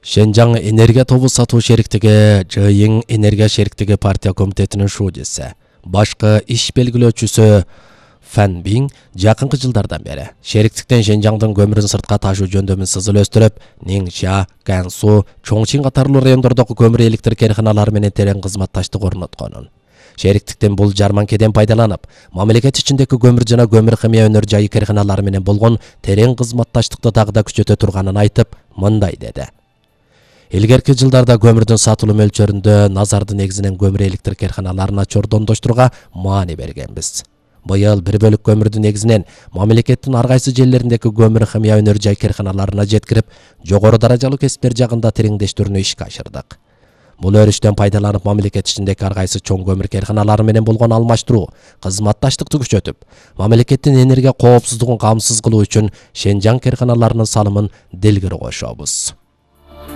Шенжаң энергия тобу сатуу шериктиги ЖИИ энергия шериктиги партия комитетинин шуудиси, башкы иш белгилөөчүсү Фан Бин жакынкы жылдардан бери шериктиктен Шенжаңдын көмүрүн сыртка ташуу жөндөмүн сызылөстүрүп, Нingxia, Gansu, Чоңчин катарлуу райондордогу көмүр электр керканалары менен терең кызматташтык орнотконун. Шериктиктен бул жарманкеден пайдаланып, мамлекет ичиндеги көмүр жана көмүр химия өнөр жайы керканалары менен болгон терең кызматташтыкты дагы да күчөтө турганын айтып, мындай деди. Илгерки жылдарда көмүрдүн сатылуу мөлчөрүндө назарды негизинен көмүр электр керканаларына чордондоштурууга маани бергенбиз. Быйыл бир бөлүк көмүрдү негизинен мамлекеттин ар кайсы жерлериндеги көмүр химия өнөр жай керканаларына жеткирип, жогору даражалуу кесиптер жагында тереңдештирүүнү ишке ашырдык. Бул өрүштөн пайдаланып, мамлекет ичиндеги ар кайсы чоң көмүр керканалары менен болгон алмаштыруу, кызматташтыкты күчөтүп, мамлекеттин энергия коопсуздугун камсыз кылуу үчүн Шенжаң керканаларынын салымын делгири кошобуз.